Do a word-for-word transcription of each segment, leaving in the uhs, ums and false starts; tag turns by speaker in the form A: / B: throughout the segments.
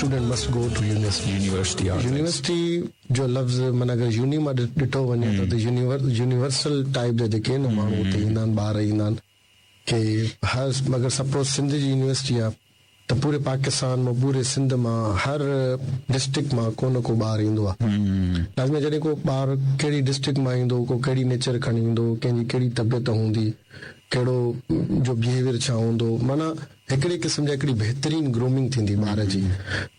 A: Student must go to university.
B: University.
A: University जो लफ़्ज़ माना अगरि यूनी मां ॾिठो वञे त यूनिवर्सल टाइप जा जेके आहिनि माण्हू उते ईंदा आहिनि, ॿार ईंदा आहिनि की हर अगरि सपोज़ सिंध जी यूनिवर्सिटी आहे त पूरे पाकिस्तान मां, पूरे सिंध मां, हर डिस्ट्रिक्ट मां को न को ॿार ईंदो आहे। लाज़मी जॾहिं को ॿार कहिड़ी डिस्ट्रिक्ट मां ईंदो, को कहिड़ी नेचर खणी ईंदो, कंहिंजी कहिड़ी तबियत हूंदी, कहिड़ो जो बिहेवियर छा हूंदो, माना हिकिड़े क़िस्म जा हिकिड़ी बहितरीन ग्रूमिंग थींदी ॿार जी।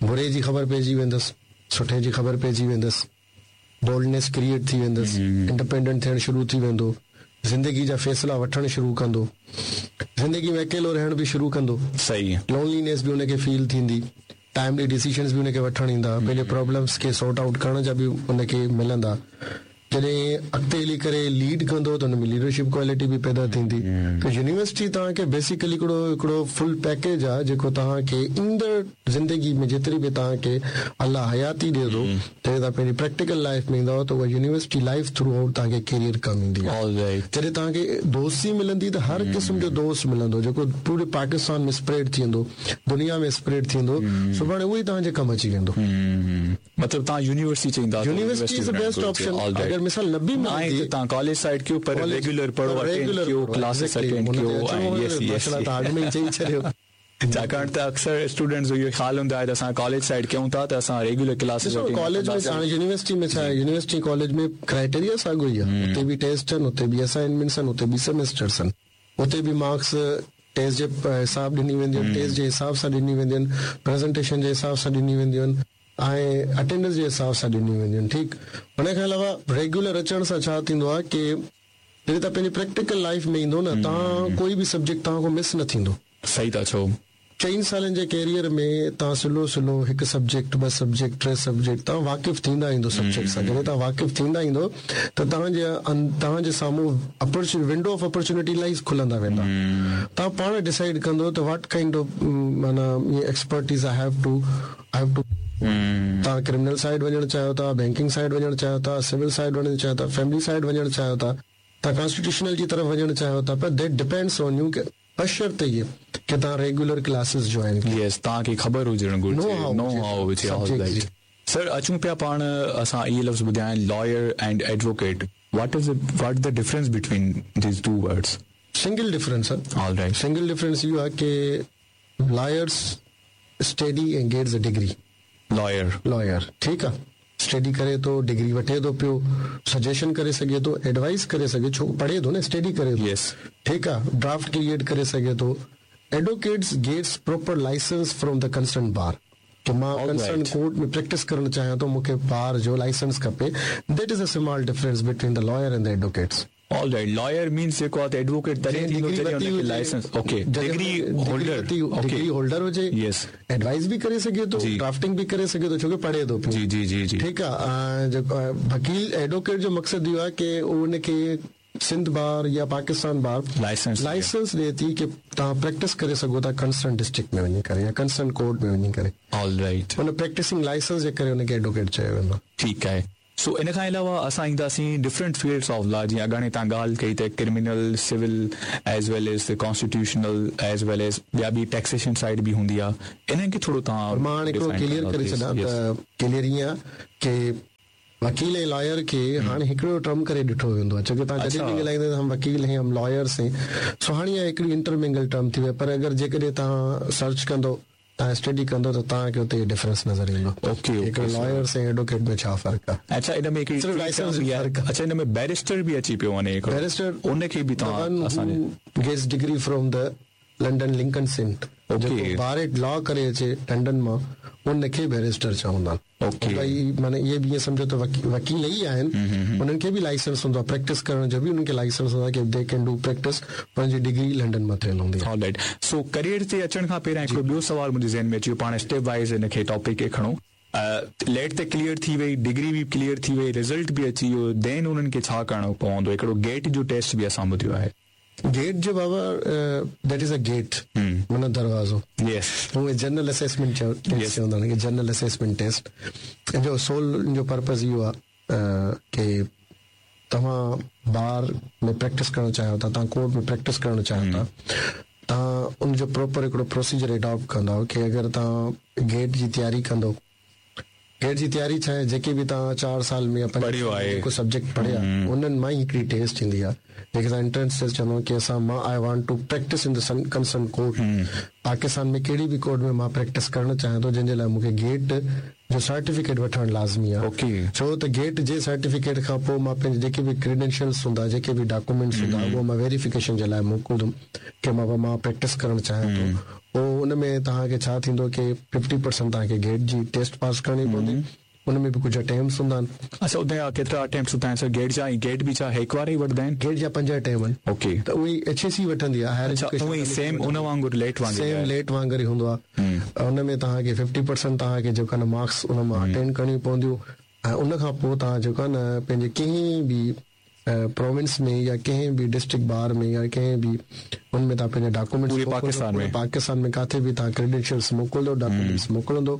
A: बुरे जी ख़बर पइजी वेंदसि, सुठे जी ख़बर पइजी वेंदसि, बोल्डनेस क्रिएट थी वेंदसि, इंडिपेंडेंट थियणु शुरू थी वेंदो, ज़िंदगी जा फ़ैसिला वठणु शुरू कंदो, ज़िंदगी में अकेलो रहणु बि शुरू कंदो,
B: सही
A: लोनलीनेस बि हुनखे फील थींदी, टाइमली डिसीजन्स बि हुनखे वठणु ईंदा, पंहिंजे प्रॉब्लम्स खे सॉर्ट आउट करण जा बि हुनखे मिलंदा। जॾहिं अॻिते हली करे लीड कंदो त हुन में लीडरशिप क्वालिटी बि पैदा थींदी। त यूनिवर्सिटी तव्हांखे बेसिकली हिकिड़ो हिकिड़ो फुल पैकेज आहे जेको तव्हांखे ईंदड़ ज़िंदगी में जेतिरी बि तव्हांखे अलाह हयाती ॾिए थो, जॾहिं तव्हां पंहिंजी प्रैक्टिकल लाइफ में ईंदव त उहा यूनिवर्सिटी लाइफ थ्रू आउट तव्हांखे करियर कमु ईंदी आहे। जॾहिं तव्हांखे दोस्ती मिलंदी त हर क़िस्म जो दोस्त मिलंदो जेको पूरे पाकिस्तान में स्प्रेड थी वेंदो, दुनिया में स्प्रेड थी वेंदो, सुभाणे उहो ई तव्हांजे कमु अची वेंदो।
B: मतिलबु तव्हां यूनिवर्सिटी चईंदा,
A: university is the best option. अगरि मिसाल न बि
B: मिलंदी तव्हां कॉलेज साइड कयो, पर रेगुलर पढ़ो, अटेंड कयो, क्लासेस अटेंड कयो। यस यस,
A: तव्हां अॻु में ई चई छॾियो।
B: छाकाणि त अक्सर स्टूडेंट्स जो इहो ख़्यालु हूंदो आहे त असां कॉलेज साइड कयूं था त असां रेगुलर क्लासेस
A: कॉलेज में हाणे यूनिवर्सिटी में छा आहे, यूनिवर्सिटी कॉलेज में क्राइटेरिया साॻियो ई आहे, उते बि टेस्ट आहिनि, उते बि असाइनमेंट्स आहिनि, उते बि सेमेस्टर्स आहिनि, उते बि मार्क्स टेस्ट जे हिसाब ॾिनी वेंदियूं आहिनि, टेस्ट जे हिसाब सां ॾिनी वेंदियूं आहिनि, प्रेज़ेंटेशन जे हिसाब सां ॾिनी वेंदियूं आहिनि ऐं अटेंडेंस जे हिसाब सां ॾिनी वेंदियूं आहिनि। ठीकु, हुन खां अलावा रेगुलर अचण सां छा थींदो आहे की जॾहिं तव्हां पंहिंजी प्रैक्टिकल लाइफ में ईंदो न, तव्हां कोई बि सब्जेक्ट तव्हां खां मिस न थींदो।
B: सही था चओ।
A: चइनि सालनि जे कैरियर में तव्हां सिलो सिलो हिकु सब्जेक्ट, ॿ सब्जेक्ट, टे सब्जेक्ट तव्हां वाक़िफ़ थींदा ईंदो सब्जेक्ट सां। जॾहिं तव्हां वाक़िफ़ थींदा ईंदो त तव्हांजे तव्हांजे साम्हूं अपॉर्चुनिटी, विंडो ऑफ अपॉर्चुनिटी इलाही खुलंदा वेंदा। तव्हां पाण डिसाइड कंदो त what kind of माना expertise I have to I have to तव्हां क्रिमिनल साइड वञणु चाहियो था, बैंकिंग साइड वञणु चाहियो था, सिविल साइड वञणु चाहियो था, फैमिली साइड वञणु चाहियो था, तव्हां कॉन्स्टिट्यूशनल जी तरफ़ वञणु चाहियो था, पर that depends on you. बशर्त इहे की तव्हां रेगुलर क्लासेस जॉइन कयो।
B: यस, तव्हांखे ख़बर हुजणु घुरिजे, नो how हुजे। ऑलराइट सर, अचूं पिया पाण असां इहे लफ़्ज़ ॿुधाया आहिनि, lawyer and advocate. What is what the difference between these two words?
A: Single difference आहे।
B: ऑलराइट,
A: सिंगल डिफरेंस इहो आहे की lawyers study and gets a degree.
B: Lawyer
A: lawyer ठीकु आहे, स्टडी करे थो, डिग्री वठे थो पियो, सजेशन करे सघे थो, एडवाइस करे सघे, छो पढ़े थो न, स्टडी करे थो।
B: यस,
A: ठीकु आहे, ड्राफ्ट क्रिएट करे सघे थो। Advocates gets proper licence from the concern bar की मां कंसर्न कोर्ट में प्रैक्टिस करणु चाहियां थो, मूंखे बार जो लाइसेंस खपे। That is a small difference between the lawyer and the advocates.
B: Alright, lawyer means जेको आहे त एडवोकेट तॾहिं थींदो जॾहिं हुनखे licence, okay, degree holder,
A: degree holder हुजे,
B: यस,
A: एडवाइस बि करे सघे थो, ड्राफ्टिंग बि करे सघे थो, छो की पढ़े थो पियो।
B: जी जी जी जी,
A: ठीकु आहे। जेको वकील एडवोकेट जो मक़सदु इहो आहे की उनखे सिंध बार या पाकिस्तान बार
B: लाइसेंस
A: लाइसेंस ॾिए थी की तव्हां प्रैक्टिस करे सघो था कंसर्न डिस्ट्रिक्ट में वञी करे या कंसर्न कोर्ट में वञी करे।
B: ऑलराइट,
A: हुन प्रैक्टिसिंग लाइसेंस जे करे हुनखे एडवोकेट चयो वेंदो।
B: ठीकु आहे। सो इन खां अलावा असां ईंदासीं डिफरेंट फील्ड्स ऑफ लॉ, जीअं अॻाणे तव्हां ॻाल्हि कई त criminal, civil as well as constitutional as well as ॿिया बि टैक्सेशन साइड बि हूंदी आहे, इन्हनि खे थोरो तव्हां।
A: मां हाणे हिकिड़ो क्लियर करे छॾां त क्लियर ईअं आहे की वकील ऐं लॉयर खे हाणे हिकिड़ो टर्म करे ॾिठो वेंदो आहे, छो की तव्हां जॾहिं बि ॻाल्हाईंदा हम वकील हैं, हम लॉयर्स हैं, सो हाणे इहा हिकिड़ी इंटरमिंगल टर्म थी वई। पर अगरि जेकॾहिं तव्हां सर्च कंदो, तव्हां स्टडी कंदो त तव्हांखे उते डिफरेंस नज़र ईंदो।
B: ओके,
A: हिकिड़ो लॉयर्स ऐं एडवोकेट में छा फ़र्क़ु आहे।
B: अच्छा, इन में हिकिड़ी
A: सिर्फ़ लाइसेंस जो फ़र्क़ु आहे।
B: अच्छा, इन में बैरिस्टर बि अची पियो वञे हिकिड़ो।
A: बैरिस्टर
B: उनखे बि तव्हां असांजे
A: gets degree from the London Lincoln's Inn, जेको बार एट लॉ करे अचे लंडन मां, उनखे बैरिस्टर चवंदा आहिनि।
B: ओके,
A: भई माना इहे बि ईअं सम्झो त वकील ई आहिनि, उन्हनि खे बि लाइसेंस हूंदो आहे प्रैक्टिस करण जो बि, उन्हनि खे लाइसेंस हूंदो आहे की they can do practice, पंहिंजी डिग्री लंडन मां थियल हूंदी आहे।
B: ऑलराइट, सो करियर ते अचण खां पहिरियां हिकिड़ो ॿियो सवाल मुंहिंजे ज़हन में अची वियो, पाण स्टेप वाइज़ हिन खे टॉपिक खे खणूं। लेट त क्लियर थी वई, डिग्री बि क्लियर थी वई, रिज़ल्ट बि अची वियो, then उन्हनि खे छा करणो पवंदो? हिकिड़ो गेट जो टेस्ट बि असां ॿुधियो आहे।
A: गेट जो बाबा, that is a gate, माना दरवाज़ो।
B: यस,
A: उहे जनरल असेसमेंट टेस्ट चवंदा आहिनि, जनरल असेसमेंट टेस्ट जो सोल जो पर्पज़ इहो आहे की तव्हां बार में प्रैक्टिस करणु चाहियो था, तव्हां कोर्ट में प्रैक्टिस करणु चाहियो था, तव्हां उनजो प्रॉपर हिकिड़ो प्रोसीजर अडॉप्ट कंदव की अगरि तव्हां गेट जी तयारी कंदव, गेट जी तयारी छा आहे, जेके बि तव्हां चारि साल में
B: पढ़ियो आहे,
A: जेको सब्जेक्ट पढ़िया उन्हनि मां ई हिकिड़ी टेस्ट ईंदी आहे, जेके असां एंट्रेंस टेस्ट चवंदा आहियूं की असां मां I want to practice in the concern court, Pakistan में कहिड़ी बि कोर्ट में मां प्रैक्टिस करणु चाहियां थो, जंहिंजे लाइ मूंखे गेट जो सर्टिफिकेट वठणु लाज़मी आहे।
B: ओके,
A: छो त गेट जे सर्टिफिकेट खां पोइ मां पंहिंजे जेके बि क्रेडेंशियल्स हूंदा, जेके बि डॉक्यूमेंट्स हूंदा, उहो मां वेरीफिकेशन जे लाइ मोकिलिंदुमि की मां मां प्रैक्टिस करणु चाहियां थो। पोइ उन में तव्हांखे छा थींदो की फिफ्टी परसेंट तव्हांखे गेट जी टेस्ट पास करणी पवंदी, उन में बि कुझु अटेम्प्ट्स हूंदा आहिनि।
B: अच्छा, उते केतिरा अटेम्प्ट्स हूंदा आहिनि सर गेट जा? गेट बि छा हिकु वारे ई वठंदा आहिनि?
A: गेट जा पंज अटेम्प्ट आहिनि।
B: ओके,
A: त उहे एच ए सी वठंदी आहे, हायर एजुकेशन
B: उहे सेम उन वांगुरु लेट वांगुरु,
A: सेम लेट वांगुरु ई हूंदो आहे। उन में तव्हांखे फिफ्टी परसेंट तव्हांखे जेको आहे न मार्क्स उन मां अटेंड करणियूं पवंदियूं, ऐं उन खां पोइ तव्हां जेको आहे न पंहिंजे कंहिं बि प्रोविंस में या कंहिं बि डिस्ट्रिक्ट बार में या कंहिं बि उन में तव्हां पंहिंजा डॉक्यूमेंट्स
B: पूरे पाकिस्तान में
A: पाकिस्तान में किथे बि तव्हां क्रेडेंशियल्स मोकिलिंदो, डॉक्यूमेंट्स मोकिलिंदो,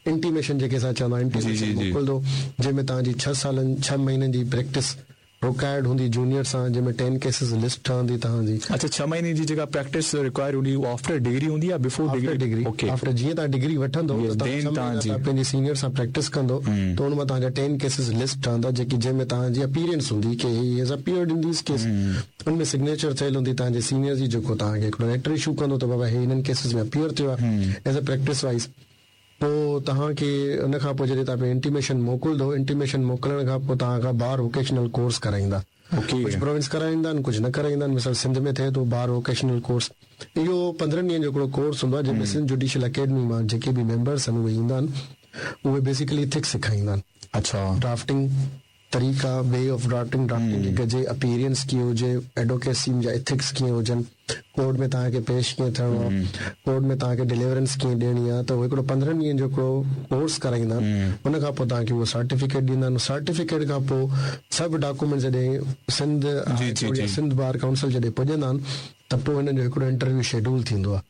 A: इंटीमेशन जेके असां चवंदा आहियूं इंटीमेशन मोकिलिंदो, जंहिंमें तव्हांजी छह सालनि छह महीननि जी प्रैक्टिस रिक्वायर्ड हूंदी जूनियर सां, जंहिंमें टेन केसिस लिस्ट ठहंदी तव्हांजी।
B: अच्छा, छह महीने जी जेका प्रैक्टिस रिक्वायर हूंदी उहा आफ्टर डिग्री हूंदी या before
A: degree? Degree
B: okay,
A: after जीअं तव्हां डिग्री वठंदो त तव्हां पंहिंजे सीनियर सां प्रैक्टिस कंदो त उन मां तव्हांजा टेन केसिस लिस्ट ठहंदा, जेकी जंहिंमें तव्हांजी अपीयरेंस हूंदी की he has appeared in this case, उन में सिग्नेचर थियल हूंदी तव्हांजे सीनियर जी, जेको तव्हांखे हिकिड़ो लेटर इशू कंदो त बाबा हे हिननि केसिस में अपीयर थियो आहे एज अ प्रैक्टिस वाइज़। पोइ तव्हांखे उन खां पोइ जॾहिं तव्हां इंटीमेशन मोकिलिंदो, इंटीमेशन मोकिलण खां पोइ तव्हां खां बार वोकेशनल कोर्स कराईंदा। कुझु प्रोविंस कराईंदा आहिनि, कुझु न कराईंदा आहिनि। मिसाल सिंध में थिए थो बार वोकेशनल कोर्स, इहो पंद्रहं ॾींहनि जो हिकिड़ो कोर्स हूंदो आहे, जंहिंमें सिंध जुडिशल अकेडमी मां जेके बि मेंबर्स आहिनि उहे ईंदा आहिनि, उहे बेसिकली इथिक्स सेखारींदा आहिनि।
B: अच्छा,
A: ड्राफ्टिंग तरीक़ा, वे ऑफ ड्राफ्टिंग, ड्राफ्टिंग कीअं कजे, अपीयरेंस कीअं हुजे, एडवोकेसी जा इथिक्स कीअं हुजनि, कोर्ट में तव्हांखे पेश कीअं थियणो आहे, कोर्ट में तव्हांखे डिलीवरेंस कीअं ॾियणी आहे। त उहो हिकिड़ो पंद्रहं ॾींहनि जो हिकिड़ो कोर्स कराईंदा आहिनि, उन खां पोइ तव्हांखे उहो सर्टिफिकेट ॾींदा आहिनि। सर्टिफिकेट खां पोइ सभु डॉक्यूमेंट जॾहिं सिंध सिंध बार काउंसिल जॾहिं पुॼंदा आहिनि त पोइ हिननि जो हिकिड़ो इंटरव्यू शेड्यूल थींदो आहे,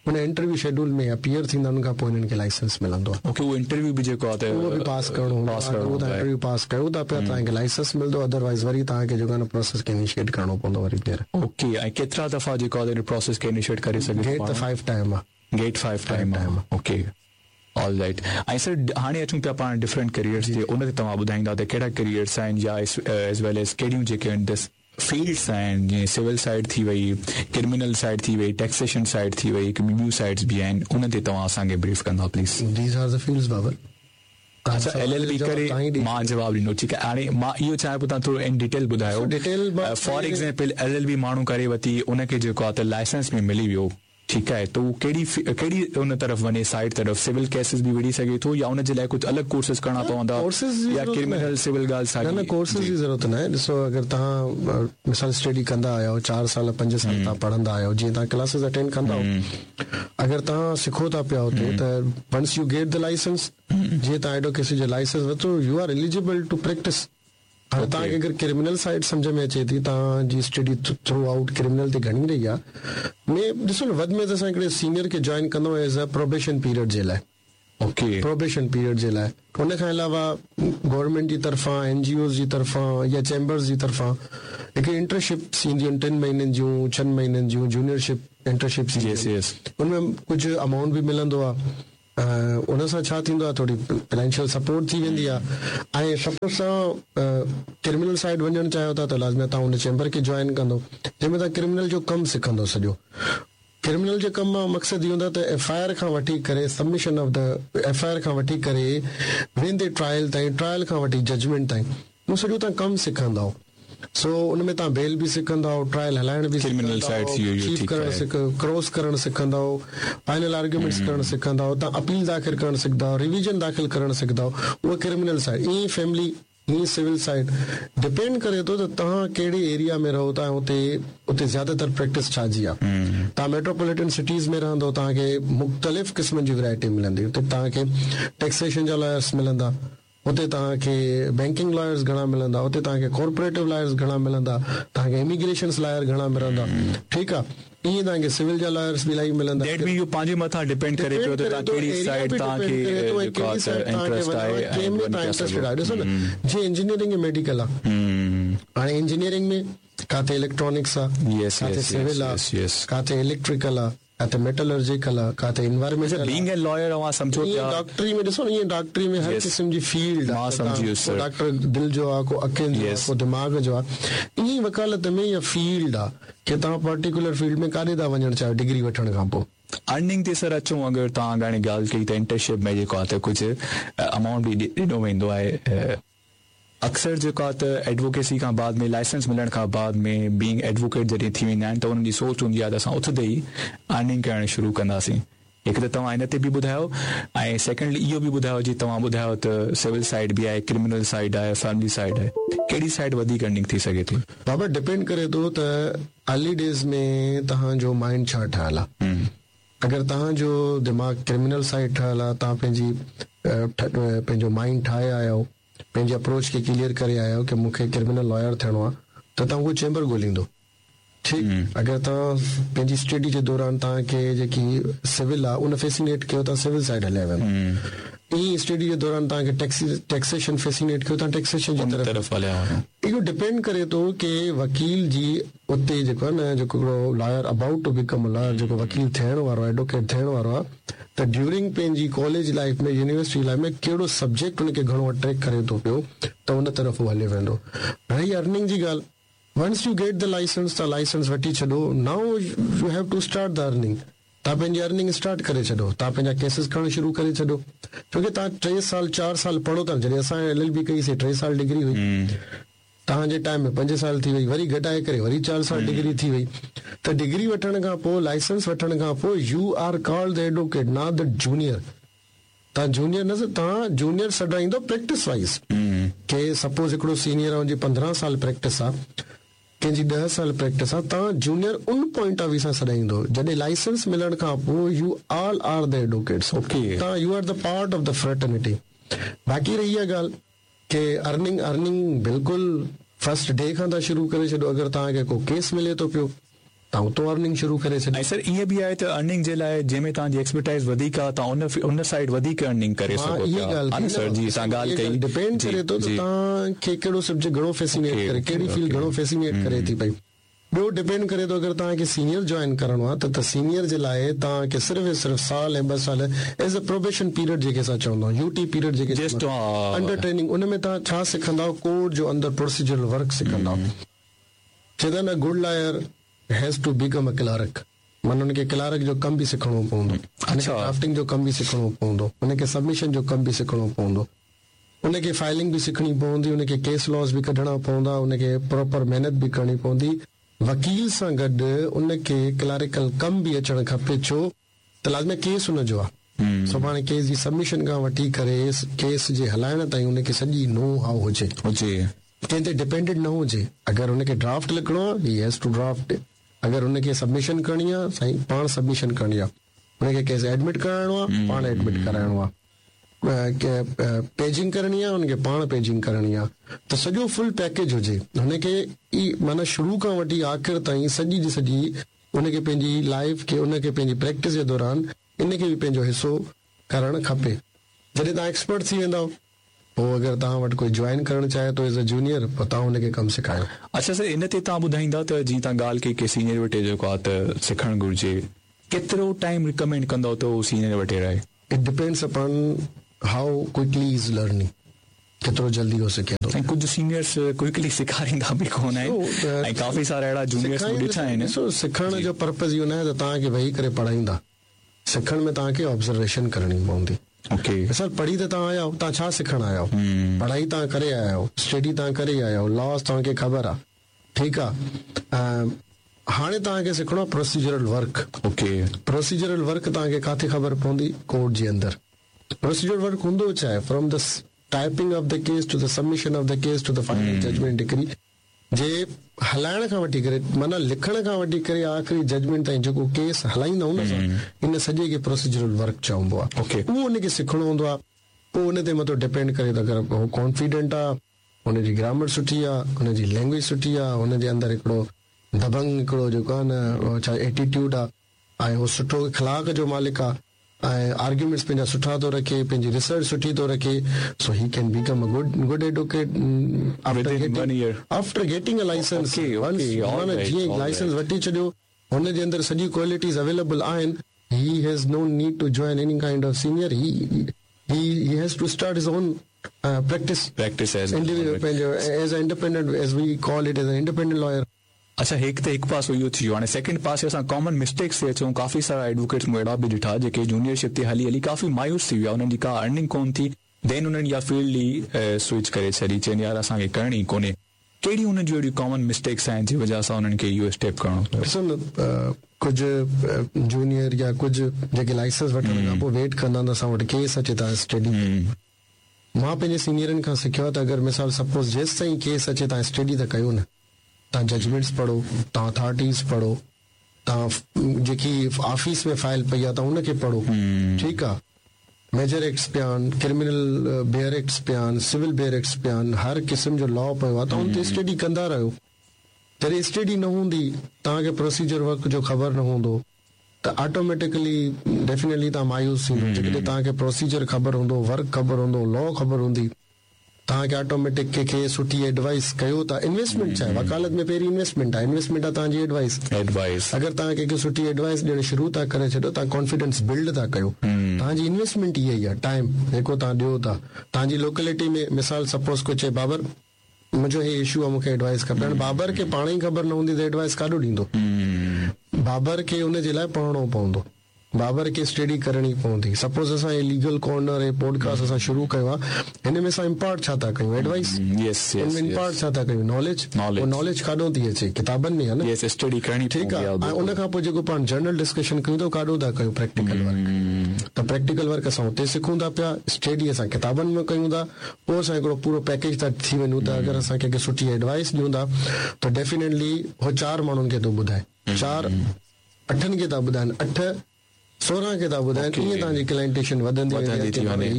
A: उन इंटरव्यू शेड्यूल में अपीयर थींदा, उन खां पोइ हिननि खे लाइसेंस मिलंदो आहे।
B: ओके, उहो इंटरव्यू बि जेको आहे
A: उहो बि पास करिणो हूंदो आहे, उहो तव्हां इंटरव्यू पास कयो था पिया तव्हांखे लाइसेंस मिलंदो, अदरवाइज़ वरी तव्हांखे जेको आहे न प्रोसेस खे इनिशिएट करिणो पवंदो वरी ॿीहर।
B: ओके, ऐं केतिरा दफ़ा जेको आहे प्रोसेस खे इनिशिएट करे सघे?
A: गेट त फाइव टाइम आहे,
B: गेट फाइव टाइम आहे। Okay, all right. ऐं सर हाणे अचूं पिया पाण डिफरेंट करियर्स ते, उन ते तव्हां ॿुधाईंदा त कहिड़ा करियर्स आहिनि या एज वेल एज कहिड़ियूं जेके आहिनि फील्ड्स आहिनि, जीअं सिविल साइड थी वई, क्रिमिनल साइड थी वई, टैक्सेशन साइड थी वई, ॿियूं साइड्स बि आहिनि, उन ते तव्हां असांखे ब्रीफ कंदा please.
A: These are the fields Babar.
B: अच्छा, एल एल बी करे मां जवाबु ॾिनो, ठीकु आहे। हाणे मां इहो चाहियां पियो तव्हां थोरो इन डिटेल ॿुधायो।
A: Detail
B: for example L L B माण्हू करे वरिती, उनखे जेको आहे त लाइसेंस में मिली वियो, ठीकु आहे, त उहो कहिड़ी कहिड़ी उन तरफ़ वञे साइड तरफ़, सिविल केसिस बि विढ़ी सघे थो या उनजे लाइ कुझु अलॻि कोर्सिस करणा पवंदा या क्रिमिनल सिविल ॻाल्हि
A: साॻी? न, कोर्सिस जी ज़रूरत न आहे। ॾिसो, अगरि तव्हां मिसाल स्टडी कंदा आहियो, चारि साल पंज साल तव्हां पढ़ंदा आहियो, जीअं तव्हां क्लासिस अटेंड कंदा आहियो, अगरि तव्हां सिखो था पिया हुते त once you get the licence, जीअं तव्हां एडवोकेसी जो लाइसेंस वरितो, you are eligible to practice. हाणे तव्हांखे अगरि क्रिमिनल साइड सम्झ में अचे थी, तव्हांजी स्टडी थ्रू आउट क्रिमिनल ते घणी रही आहे, में ॾिसो न वधि में त असां हिकिड़े सीनियर खे जॉइन कंदो एज अ प्रोबेशन पीरियड जे लाइ।
B: ओके,
A: प्रोबेशन पीरियड जे लाइ। उन खां अलावा गवर्नमेंट जी तरफ़ां, एन जी ओज़ जी तरफ़ां या चैम्बर्स जी तरफ़ां हिकिड़ी इंटर्नशिप्स ईंदियूं आहिनि, टिनि महीननि जूं, छहनि महीननि जूं जूनियरशिप इंटर्नशिप्स। उन में कुझु अमाउंट बि मिलंदो आहे। उन सां छा थींदो आहे, थोरी फाइनेंशियल सपोर्ट थी वेंदी आहे। ऐं सपोज़ तव्हां क्रिमिनल साइड वञणु चाहियो था त लाज़मी तव्हां उन चैम्बर खे जॉइन कंदो, जंहिंमें तव्हां क्रिमिनल जो कमु सिखंदो सॼो। क्रिमिनल जे कम मां मक़सदु इहो हूंदो आहे त एफ I R खां वठी करे submission of the F I R खां वठी करे वेंदे ट्रायल ताईं, ट्रायल खां वठी जजमेंट ताईं, उहो सॼो तव्हां कमु सिखंदव। सो उन में तव्हां बेल बि सिखंदव, ट्रायल हलाइण बि सिखंदव, करणु सिख क्रॉस करणु सिखंदव, फाइनल आर्ग्यूमेंट्स करणु सिखंदव, तव्हां अपील दाख़िल करणु सिखंदव, रिवीजन दाख़िल करणु सिखंदव। उहा क्रिमिनल साइड। ईअं फैमिली, ईअं सिविल साइड, डिपेंड करे थो त तव्हां कहिड़े एरिया में रहो था, उते उते ज़्यादातर प्रैक्टिस छा जी आहे। तव्हां मेट्रोपॉलिटन सिटीज़ में रहंदव, तव्हांखे मुख़्तलिफ़ क़िस्मनि जी वैरायटी मिलंदी। उते तव्हांखे टैक्सेशन जा लॉयर्स मिलंदा, उते तव्हांखे बैंकिंग लॉयर्स घणा मिलंदा, उते तव्हांखे कॉर्पोरेटिव लॉयर्स घणा मिलंदा, तव्हांखे इमिग्रेशन लॉयर घणा मिलंदा, ठीकु आहे। ईअं तव्हांखे सिविल जा लॉयर्स बि इलाही मिलंदा।
B: That mean इहो पंहिंजे मथां डिपेंड करे पियो त तव्हां कहिड़ी साइड तव्हांखे इंटरेस्ट आहे,
A: कंहिं में तव्हां इंटरेस्टेड आहियो। ॾिसो न, जीअं इंजीनियरिंग ऐं मेडिकल आहे, हाणे इंजीनियरिंग में ڪاٿي इलेक्ट्रॉनिक्स आहे,
B: Yes,
A: ڪاٿي
B: yes,
A: civil
B: yes,
A: आहे,
B: yes, yes.
A: ڪاٿي इलेक्ट्रिकल आहे, ڪاٿي मेटलर्जिकल आहे, ڪاٿي environmental.
B: Being a lawyer अव्हां सम्झो
A: ईअं
B: पिया
A: डॉक्टरी में ॾिसो न, ईअं डॉक्टरी में हर
B: Yes.
A: क़िस्म जी फील्ड
B: मां
A: आहे।
B: सम्झी वियुसि,
A: को
B: sir.
A: Doctor दिलि जो आहे, को अखियुनि जो आहे,
B: Yes.
A: को दिमाग़ जो आहे। ईअं ई वकालत में इहा फील्ड आहे की तव्हां पर्टिकुलर फील्ड में काॾे था वञणु चाहियो डिग्री वठण खां पोइ।
B: अर्निंग ते सर अचूं, अगरि तव्हां हाणे ॻाल्हि कई त इंटर्नशिप में जेको आहे त कुझु अमाउंट बि ॾिनो वेंदो आहे। अक्सर जेको आहे त एडवोकेसी खां बाद में, लाइसेंस मिलण खां बाद में बीइंग एडवोकेट जॾहिं थी वेंदा आहिनि त उन्हनि जी सोच हूंदी आहे त असां उथंदे ई अर्निंग करणु शुरू कंदासीं। हिकु त तव्हां हिन ते बि ॿुधायो ऐं सेकेंडली इहो बि ॿुधायो, जीअं तव्हां ॿुधायो त सिविल साइड बि आहे, क्रिमिनल साइड आहे, फैमिली साइड आहे, कहिड़ी साइड वधीक अर्निंग थी सघे थी?
A: बाबा, डिपेंड करे थो त अर्ली डेज़ में तव्हांजो माइंड छा ठहियल आहे। अगरि तव्हांजो दिमाग़ क्रिमिनल साइड ठहियल आहे, तव्हां पंहिंजी पंहिंजो माइंड ठाहे आया आहियो, पंहिंजी अप्रोच खे क्लियर करे आया आहियो की मूंखे क्रिमिनल लॉयर थियणो आहे, त तव्हां उहो चेंबर ॻोल्हींदो, ठीकु। अगरि तव्हां पंहिंजी स्टडी जे दौरान तव्हांखे जेकी सिविल आहे उन फैसिनेट कयो, तव्हां सिविल साइड हलिया वेंदो। ईअं स्टडी जे दौरान तव्हांखे टैक्सी टैक्सेशन फैसिनेट कयो, तव्हां टैक्सेशन जी तरफ़
B: तरफ़ हलिया वञो।
A: इहो डिपेंड करे थो की वकील जी उते जेको आहे न, जेको हिकिड़ो lawyer about to become lawyer, जेको वकील थियण वारो आहे, एडवोकेट थियण वारो आहे, त ड्यूरिंग पंहिंजी कॉलेज लाइफ में, यूनिवर्सिटी लाइफ में कहिड़ो सब्जेक्ट हुनखे घणो अट्रैक्ट करे थो पियो, त उन तरफ़ उहो हले वेंदो। रही अर्निंग जी ॻाल्हि, once you get the licence, तव्हां लाइसेंस वठी छॾो, now you have to start the earning. तव्हां पंहिंजी अर्निंग स्टार्ट करे छॾो, तव्हां पंहिंजा केसिस करणु शुरू करे छॾो, छो की तव्हां टे साल चारि साल पढ़ो था। जॾहिं असां एल एल बी कईसीं, टे साल डिग्री हुई, तव्हांजे टाइम में पंज साल थी वई, वरी घटाए करे वरी चारि साल डिग्री थी वई। त डिग्री वठण खां पोइ, लाइसेंस वठण खां पोइ, you are called the advocate, not the junior. तव्हां जूनियर न, तव्हां जूनियर सॾाईंदो प्रैक्टिस वाइज़, के सपोज़ हिकिड़ो सीनियर आहे, हुनजी पंद्रहं साल प्रैक्टिस आहे, कंहिंजी ॾह साल प्रैक्टिस आहे, तव्हां junior उन पॉइंट ऑफ व्यू सां सॾाईंदो। जॾहिं लाइसेंस मिलण खां पोइ you all are the advocates,
B: okay,
A: तव्हां you are the part of the fraternity. बाक़ी रही इहा ॻाल्हि की अर्निंग, अर्निंग बिल्कुलु फर्स्ट डे खां था शुरू करे छॾो। अगरि तव्हांखे को केस मिले थो पियो, तव्हां उतो अर्निंग शुरू करे छॾो।
B: ऐं सर ईअं बि आहे त अर्निंग जे लाइ जंहिंमें तव्हांजी एक्सपर्टाइज़ वधीक आहे, तव्हां उन उन साइड वधीक अर्निंग करे सघो
A: इहा ॻाल्हि
B: सर जी, तव्हां ॻाल्हि कई,
A: डिपेंड करे थो त तव्हांखे कहिड़ो सब्जेक्ट घणो फैसिनेट करे, कहिड़ी फील्ड घणो फैसिनेट करे थी पई। ॿियो डिपेंड करे थो, अगरि तव्हांखे सीनियर जॉइन करिणो आहे त सीनियर जे लाइ तव्हांखे सिर्फ़ु ऐं सिर्फ़ु साल ऐं ॿ साल एज अ प्रोबेशन पीरियड जेके असां चवंदा आहियूं, यूटी पीरियड जेके अंडर ट्रेनिंग, उन में तव्हां छा सिखंदा कोर्ट जो अंदरि प्रोसीजरल वर्क सिखंदा। चवंदा न, good lawyer has to become a clerk, माना हुनखे क्लार्क जो कमु बि सिखणो पवंदो, हुनखे ड्राफ्टिंग जो कमु बि सिखणो पवंदो, हुनखे सबमिशन जो कमु बि सिखणो पवंदो, हुनखे फाइलिंग बि सिखणी पवंदी, हुनखे केस लॉज़ बि कढणा पवंदा, हुनखे प्रॉपर महिनत बि करणी पवंदी। वकील सां गॾु उनखे क्लरिकल कमु बि अचणु खपे, छो त लाज़मी केस हुनजो आहे। सुभाणे केस जी सबमिशन खां वठी करे केस जे हलाइण ताईं हुनखे सॼी नो how हुजे,
B: हुजे,
A: कंहिं ते डिपेंडेंट न हुजे। अगरि हुनखे ड्राफ्ट लिखिणो आहे, he has to draft. अगरि हुनखे सबमिशन करणी आहे, साईं पाण सबमिशन करणी आहे। हुनखे केस एडमिट कराइणो आहे, पाण एडमिट कराइणो आहे। पेजिंग करणी आहे, हुनखे पाण पेजिंग करणी आहे। त सॼो फुल पैकेज हुजे हुनखे ई, माना शुरू खां वठी आख़िर ताईं सॼी जी सॼी हुनखे पंहिंजी लाइफ खे, हुनखे पंहिंजी प्रैक्टिस जे दौरान इनखे बि पंहिंजो हिसो करणु खपे। जॾहिं तव्हां एक्सपर्ट थी वेंदव, पोइ अगरि तव्हां वटि कोई जॉइन करणु चाहे थो एज अ जूनियर, पोइ तव्हां हुनखे कमु सेखारियो।
B: अच्छा सर, इन ते तव्हां ॿुधाईंदा त जीअं तव्हां ॻाल्हि कई की सीनियर वटि जेको आहे त सिखणु घुरिजे, केतिरो टाइम रिकमेंड कंदव त उहो सीनियर वटि रहे?
A: It depends upon how quickly is learning, केतिरो जल्दी हो सघे थो।
B: ऐं कुझु सीनियर्स क्विकली सेखारींदा बि कोन आहिनि ऐं काफ़ी सारा अहिड़ा जूनियर्स बि ॾिठा आहिनि।
A: ॾिसो, सिखण जो पर्पज़ इहो न आहे त तव्हांखे वेही करे पढ़ाईंदा, सिखण में तव्हांखे ऑब्ज़र्वेशन करणी पवंदी।
B: ओके
A: सर, पढ़ी त तव्हां आया आहियो, तव्हां छा सिखण आया आहियो? पढ़ाई तव्हां करे आया आहियो, स्टडी तव्हां करे आया आहियो, लॉस तव्हांखे ख़बर आहे, ठीकु आहे। हाणे तव्हांखे सिखणो आहे procedural work.
B: Okay,
A: procedural work तव्हांखे किथे ख़बर पवंदी? कोर्ट जे अंदरि। प्रोसीजरल वर्क हूंदो छा आहे? From the typing of the case to the submission of the case to the final judgment decree, जे हलाइण खां वठी करे, माना लिखण खां वठी करे आख़िरी जजमेंट ताईं जेको केस हलाईंदा आहियूं न असां, इन सॼे खे प्रोसीजरल वर्क चवबो आहे।
B: ओके,
A: उहो हुनखे सिखणो हूंदो आहे। पोइ उन ते मथो डिपेंड करे त अगरि हू कॉन्फिडेंट आहे, हुनजी ग्रामर सुठी आहे, हुनजी लैंग्वेज सुठी आहे, हुनजे अंदरि हिकिड़ो दबंग हिकिड़ो जेको आहे न छा एटीट्यूड आहे ऐं हू सुठो इख़लाक़ जो मालिक आहे, ऐं आर्ग्यूमेंट्स पंहिंजा सुठा थो रखे, पंहिंजी रिसर्च सुठी थो रखे, so he can become a good good advocate after getting after getting a licence. जीअं लाइसेंस वठी छॾियो, हुन जे अंदरि सॼी क्वालिटीज़ अवेलेबल आहिनि. He has no need to join any kind of senior. He he he has to start his own uh, practice.
B: Practice as
A: as an independent, as we call it, as an independent lawyer.
B: अच्छा, हिकु त हिकु पासो इहो थी वियो. हाणे second पासे असां कॉमन मिस्टेक्स ते अचूं. काफ़ी सारा एडवोकेट्स मूं अहिड़ा बि ॾिठा जेके जूनियरशिप ते हली हली काफ़ी मायूस थी विया, उन्हनि जी का अर्निंग कोन थी, then उन्हनि इहा फील्ड ई स्विच करे छॾी, चवनि यार असांखे करणी ई कोन्हे. कहिड़ी उन्हनि जूं अहिड़ियूं कॉमन मिस्टेक्स आहिनि जी वजह सां उन्हनि खे इहो स्टेप करिणो पियो?
A: ॾिसो न, कुझु जूनियर या कुझु जेके लाइसेंस वठण खां पोइ वेट कंदा आहिनि त असां वटि केस अचे त स्टडी. मां पंहिंजे सीनियरनि खां सिखियो आहे त अगरि मिसाल सपोज़ जेसि ताईं केस अचे तव्हां स्टडी त कयो न, तव्हां जजमेंट्स पढ़ो, तव्हां अथॉरिटीज़ पढ़ो, तव्हां जेकी ऑफिस में फाइल पई आहे तव्हां उनखे पढ़ो, ठीकु आहे. मेजर एक्ट्स पिया आहिनि, क्रिमिनल बेयर एक्ट्स पिया आहिनि, सिविल बेयर एक्ट्स पिया आहिनि, हर क़िस्म जो लॉ पियो आहे, तव्हां उन ते स्टडी कंदा रहियो. जॾहिं स्टडी न हूंदी, तव्हांखे प्रोसीजर वर्क जो ख़बर न हूंदो, त ऑटोमेटिकली डेफिनेटली तव्हां मायूस थींदो. जेकॾहिं तव्हांखे प्रोसीजर ख़बर हूंदो, वर्क ख़बर हूंदो, लॉ ख़बर हूंदी, तव्हांखे ऑटोमेटिक कंहिंखे सुठी एडवाइस कयो था. इन्वेस्टमेंट छा आहे? वकालत में पहिरीं इन्वेस्टमेंट आहे. इन्वेस्टमेंट आहे तव्हांजी एडवाइस.
B: एडवाइस
A: अगरि तव्हां कंहिंखे सुठी एडवाइस ॾियणु शुरू था करे छॾियो, तव्हां कॉन्फिडेंस बिल्ड था कयो. तव्हांजी इन्वेस्टमेंट इहा ई आहे, टाइम जेको तव्हां ॾियो था. तव्हांजी लोकेलिटी में मिसाल सपोज़ को चए बाबर मुंहिंजो हे इशू आहे, मूंखे एडवाइस खपे. हाणे बाबर खे पाण ई ख़बर न हूंदी त एडवाइस काॾो ॾींदो. बाबर खे उन जे लाइ पढ़णो पवंदो, बाबर खे स्टडी करणी पवंदी. सपोज़ असां लीगल कॉर्नर ऐं पॉडकास्ट असां शुरू कयो आहे, हिन में असां इम्पार्ट छा था कयूं? एडवाइस.
B: हिन
A: में इम्पार्ट छा था कयूं? नॉलेज. उहो नॉलेज काॾो थी अचे? किताबनि में आहे न,
B: स्टडी करणी,
A: ठीकु आहे. ऐं उन खां पोइ जेको पाण जनरल डिस्कशन कयूं था, काॾो था कयूं? Practical work. त प्रैक्टिकल वर्क असां उते सिखूं था पिया, स्टडी असां किताबनि में कयूं था, पोइ असां हिकिड़ो पूरो पैकेज था थी वञूं था. अगरि असां कंहिंखे सुठी एडवाइस ॾियूं था त डेफिनेटली हो चारि माण्हुनि खे थो ॿुधाए, चारि अठनि खे था ॿुधाइनि, अठ सोरहं खे था ॿुधाइनि, ईअं तव्हांजी क्लाइंटेशन वधंदी वेंदी.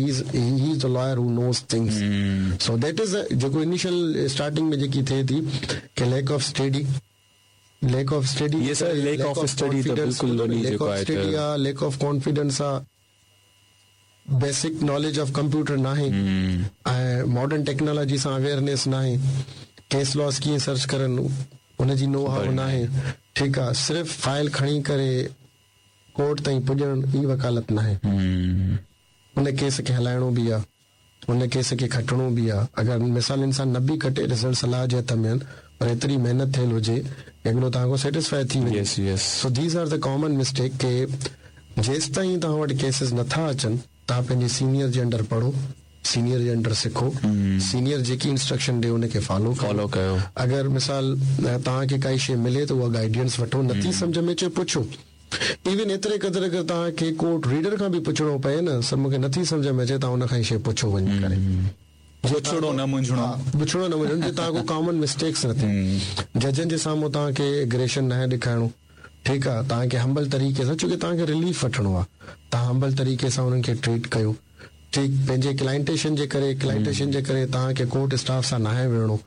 A: He is the lawyer who knows things. So that is जेको इनिशियल स्टार्टिंग में जेकी थिए थी कि lack of study, lack of study,
B: ये sir lack of study त बिल्कुलु
A: लैक ऑफ स्टडी आहे, लैक ऑफ कॉन्फिडेंस आहे, बेसिक नॉलेज ऑफ कंप्यूटर नाहे, ऐं मॉडर्न टेक्नोलॉजी सां अवेयरनेस नाहे, केस लॉस कीअं सर्च करनि उनजी नो how नाहे, ठीकु आहे. सिर्फ़ु फाइल खणी करे कोर्ट ताईं पुॼणु ई वकालत नाहे. उन केस खे हलाइणो बि आहे, उन केस खे खटणो बि आहे. अगरि मिसाल इंसान न बि खटे, रिज़ल्ट सलाह जे हथ में आहिनि, पर एतिरी महिनत थियल हुजे हिकिड़ो तव्हां सेटिस्फाई थी वञे. So these are the common mistake के जेसि ताईं तव्हां वटि केसिस नथा अचनि, तव्हां पंहिंजे सीनियर जे अंडर पढ़ो, सीनियर जे अंडर सिखो, सीनियर जेकी इंस्ट्रक्शन ॾे उनखे फॉलो
B: फॉलो कयो.
A: अगरि मिसाल तव्हांखे काई शइ मिले त उहा गाइडेंस वठो, नथी सम्झ में अचे पुछो. इवन एतिरे क़दुरु अगरि तव्हांखे कोर्ट रीडर खां बि पुछणो पए न, सर मूंखे नथी सम्झ में अचे, तव्हां उन खां शइ पुछो वञी करे.
B: पुछणो न मुंझणो,
A: पुछणो न मुंझणो, जे तव्हां को कॉमन मिस्टेक्स न थियनि. जजनि जे साम्हूं तव्हांखे एग्रेशन न ॾेखारिणो, ठीकु आहे. तव्हांखे हम्बल तरीक़े सां, छो की तव्हांखे रिलीफ वठिणो आहे, तव्हां हम्बल तरीक़े सां उन्हनि खे ट्रीट कयो, ठीकु. पंहिंजे क्लाइंटेशन जे करे, क्लाइंटेशन जे करे तव्हांखे कोर्ट स्टाफ सां नाहे विढ़णो.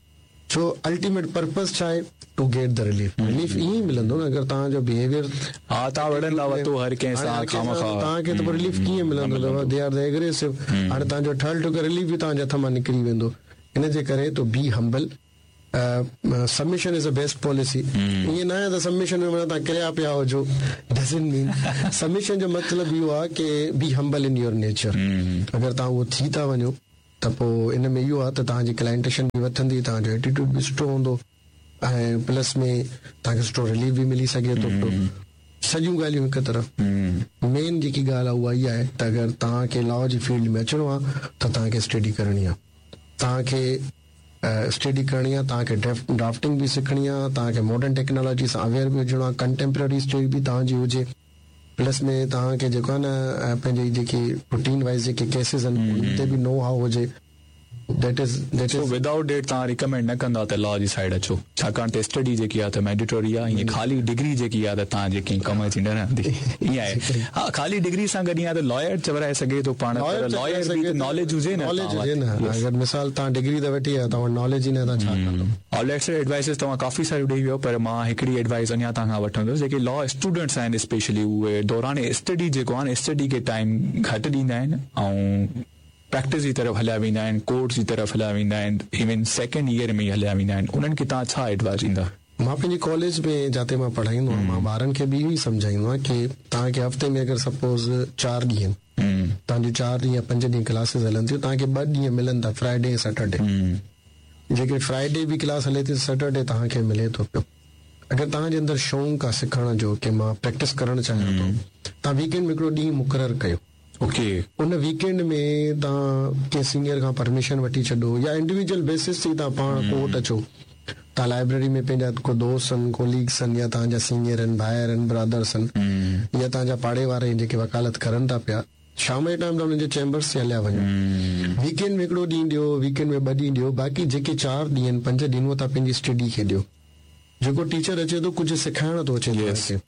A: छो अल्टीमेट पर्पस छा आहे? To get the relief. Relief ईअं ई मिलंदो न अगरि तव्हांजो बिहेवियर
B: हा, तव्हां विढ़ंदा वतो हर कंहिं सां
A: खामखा, तव्हांखे त पोइ रिलीफ कीअं मिलंदो? They are the aggressive. हाणे तव्हांजो ठहियल ठुकियल रिलीफ बि तव्हांजे हथ मां निकिरी वेंदो. इन जे करे to be humble. Submission is a best policy. ईअं न आहे त सबमिशन में माना तव्हां किरिया पिया हुजो, डजंट मीन. सबमिशन जो मतिलबु इहो आहे की be humble in your nature. अगरि तव्हां उहो थी था वञो त पोइ इन में इहो आहे त तव्हांजी क्लाइंटेशन बि वधंदी, तव्हांजो एटीट्यूड बि सुठो हूंदो, ऐं प्लस में तव्हांखे सुठो रिलीफ बि मिली सघे थो. सॼियूं ॻाल्हियूं हिकु तरफ़. मेन जेकी ॻाल्हि आहे उहा इहा आहे त अगरि तव्हांखे लॉ जी फील्ड में अचिणो आहे त तव्हांखे स्टडी करणी आहे, तव्हांखे स्टडी करणी आहे, तव्हांखे ड्राफ्टिंग बि सिखणी आहे, तव्हांखे मॉडर्न टेक्नोलॉजी सां अवेयर बि हुजणो आहे, कंटेम्प्ररी स्टडी बि तव्हांजी हुजे. प्लस में तव्हांखे जेको आहे न पंहिंजी जेकी रूटीन वाइज़ जेके केसिस आहिनि उन ते बि नो how हुजे. That is that
B: so
A: is
B: without date तव्हां रिकमेंड न कंदा त लॉ जी साइड अचो, छाकाणि त स्टडी जेकी आहे त मैंडेटरी आहे, ईअं ख़ाली डिग्री जेकी आहे त तव्हांजे कंहिं कम जी न रहंदी। ईअं आहे, हा, ख़ाली डिग्री सां गॾु ईअं आहे त लॉयर चवराए सघे थो पाण, पर लॉयर बि त नॉलेज हुजे न,
A: नॉलेज हुजे न। अगरि मिसाल तव्हां डिग्री त वठी आयो, तव्हां नॉलेज ई न, तव्हां छा कंदो?
B: ऑलराइट सर, एडवाइसिस तव्हां काफ़ी सारियूं ॾेई वियो, पर मां हिकिड़ी एडवाइस अञा तव्हां खां वठंदुसि। जेके लॉ स्टूडेंट्स आहिनि स्पेशली, उहे दौरान स्टडी जेको आहे न, स्टडी खे टाइम घटि ॾींदा आहिनि ऐं प्रैक्टिस जी तरफ़ हलिया वेंदा आहिनि, कोर्ट जी तरफ़ हलिया वेंदा आहिनि, इवन सेकेंड ईयर में ई हलिया वेंदा आहिनि, उन्हनि खे तव्हां छा एडवाइस ॾींदा?
A: मां पंहिंजे कॉलेज में जिते मां पढ़ाईंदो आहियां, मां ॿारनि खे बि इहो ई सम्झाईंदो आहियां की तव्हांखे हफ़्ते में अगरि सपोज़ चारि ॾींहं आहिनि, तव्हांजो चारि ॾींहं पंज ॾींहं क्लासिस हलनि थियूं, तव्हांखे ॿ ॾींहं मिलनि था, फ्राइडे ऐं सैटरडे। जेके फ्राइडे बि क्लास हले थी, सैटरडे तव्हांखे मिले थो पियो। अगरि तव्हांजे अंदरि शौक़ु आहे सिखण जो की मां प्रैक्टिस करणु चाहियां थो, तव्हां वीकेंड में हिकिड़ो ॾींहुं मुक़ररु कयो।
B: ओके,
A: उन वीकेंड में तव्हां कंहिं सीनियर खां परमिशन वठी छॾो या इंडिविजुअल बेसिस ते तव्हां पाण कोर्ट अचो, तव्हां लाइब्रेरी में पंहिंजा को दोस्त आहिनि, कोलीग्स आहिनि, या तव्हांजा सीनियर आहिनि, भाइर आहिनि, ब्रदर्स आहिनि, या तव्हांजा पाड़े वारा आहिनि जेके वकालत करनि था पिया, शाम जे टाइम तव्हां हुननि जे चैम्बर्स ते हलिया वञो। वीकेंड में हिकिड़ो ॾींहुं ॾियो, वीकेंड में ॿ ॾींहं ॾियो, बाक़ी जेके चारि ॾींहं आहिनि, पंज ॾींहं, उहो तव्हां पंहिंजी स्टडी खे ॾियो। जेको टीचर अचे थो कुझु सेखारणु थो अचे,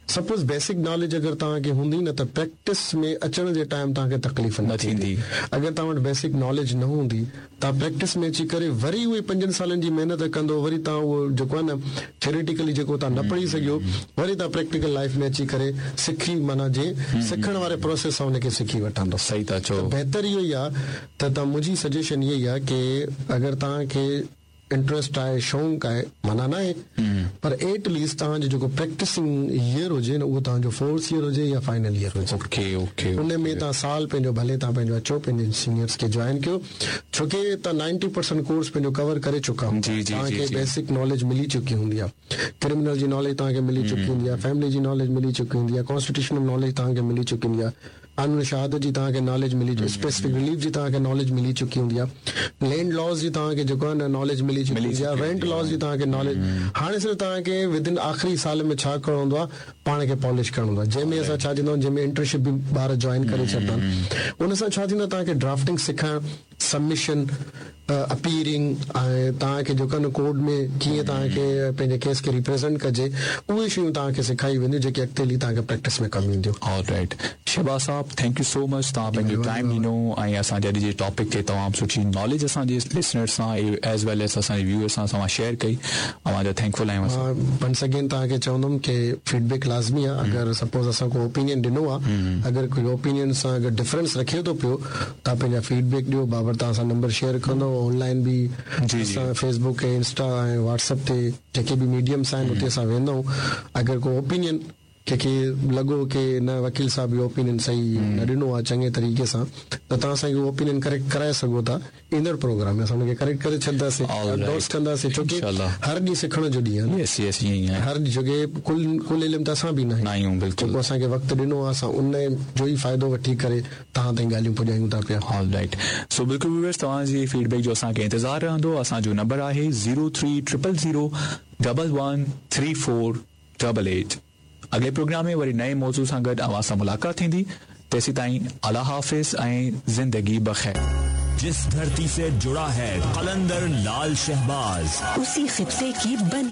A: सपोज़ बेसिक नॉलेज अगरि तव्हांखे हूंदी न त प्रैक्टिस में अचण जे टाइम तव्हांखे तकलीफ़ न थींदी। अगरि तव्हां वटि बेसिक नॉलेज न हूंदी, तव्हां प्रैक्टिस में अची करे वरी उहे पंजनि सालनि जी महिनत कंदो, वरी तव्हां उहो जेको आहे न थियोरेटिकली जेको तव्हां न पढ़ी सघियो, वरी तव्हां प्रैक्टिकल लाइफ में अची करे सिखी, माना जे सिखण वारे प्रोसेस सां हुनखे सिखी वठंदो।
B: सही था चओ।
A: बहितर इहो ई आहे त तव्हां, मुंहिंजी सजेशन इहा ई आहे की अगरि तव्हांखे इंट्रस्ट आहे, शौक़ु आहे, माना न आहे, पर एट लीस्ट तव्हांजो जेको प्रैक्टिसिंग ईयर हुजे न, उहो तव्हांजो फोर्थ ईयर हुजे या फाइनल ईयर हुजे।
B: ओके ओके,
A: उन में तव्हां साल पंहिंजो भले तव्हां पंहिंजो अचो, पंहिंजे सीनियर्स खे जॉइन कयो, छो की तव्हां नाइंटी परसेंट कोर्स पंहिंजो कवर करे चुका हूंदा, तव्हांखे बेसिक नॉलेज मिली चुकी हूंदी आहे, क्रिमिनल जी नॉलेज तव्हांखे मिली चुकी हूंदी आहे, फैमिली जी नॉलेज मिली चुकी हूंदी आहे, कॉन्स्टिट्यूशनल नॉलेज तव्हांखे मिली चुकी हूंदी आहे, कानून शहादत जी तव्हांखे नॉलेज मिली, स्पेसिफिक रिलीफ जी तव्हांखे नॉलेज मिली चुकी हूंदी आहे, लैंड लॉज़ जी तव्हांखे जेको आहे न नॉलेज मिली चुकी हूंदी आहे, रेंट लॉज़ जी तव्हांखे नॉलेज। हाणे सिर्फ़ तव्हांखे विदिन आख़िरी साल में छा करिणो हूंदो आहे, पाण खे पॉलिश करिणो हूंदो आहे, जंहिंमें असां छा चवंदा आहियूं, जंहिंमें इंटर्नशिप बि ॿार जॉइन करे छॾंदा आहिनि, उन सां छा थींदो आहे, तव्हांखे ड्राफ्टिंग सिखणु, सबमिशन, अपीयरिंग ऐं तव्हांखे जेको आहे न कोर्ट में कीअं तव्हांखे पंहिंजे केस खे रिप्रेज़ेंट कजे, उहे शयूं तव्हांखे सेखारी वेंदियूं जेके अॻिते हली तव्हांखे प्रैक्टिस में कमु ईंदियूं।
B: ऑलराइट शहबाज़ साहब, thank you so much, तव्हां पंहिंजो टाइम ॾिनो ऐं असांजे अॼु जे टॉपिक ते तमामु सुठी नॉलेज असांजे लिसनर्स सां एज़ वेल एज़ असांजे व्यूअर्स सां तव्हां शेयर कई, अव्हां थैंकफुल आहियूं।
A: वंस अगेन तव्हांखे चवंदुमि की फीडबैक लाज़मी आहे, अगरि सपोज़ असां को ओपिनियन ॾिनो आहे, अगरि कोई ओपिनियन सां अगरि डिफरेंस रखे थो पियो, तव्हां पंहिंजा फीडबैक ॾियो, बाबरि तव्हां सां नंबर शेयर कंदो, ऑनलाइन बि असां फेसबुक ऐं इंस्टा ऐं व्हाट्सएप ते जेके बि मीडियम्स आहिनि उते असां वेंदा आहियूं। अगरि को ओपिनियन कंहिंखे लॻो की न वकील साहिब इहो ओपिनियन सही न ॾिनो आहे चङे तरीक़े सां, त तव्हां असांखे उहो ओपिनियन करेक्ट कराए सघो था, ईंदड़ प्रोग्राम में असां हुनखे करेक्ट करे छॾंदासीं, एंडोर्स कंदासीं, छो की हर ॾींहुं सिखण जो ॾींहुं आहे, हर ॾींहुं, छो की कुल कुल इल्म त असां बि न आहियूं, जेको असांखे वक़्तु ॾिनो आहे असां उन जो ई फ़ाइदो वठी करे तव्हां ताईं ॻाल्हियूं पुॼायूं था पिया।
B: ऑलराइट, सो बिल्कुलु व्यूअर्स, तव्हांजी फीडबैक जो असांखे इंतज़ारु रहंदो। असांजो नंबर आहे zero three triple zero double one three four double eight. अॻिले प्रोग्राम में वरी नए मौज़ू सां गॾु अव्हां सां मुलाक़ात थींदी, तेसीं ताईं अल्लाह हाफ़िज़ ऐं ज़िंदगी बख़ैर।
C: जिस धरती से जुड़ा है कलंदर लाल शहबाज,
D: उसी खित्ते की बन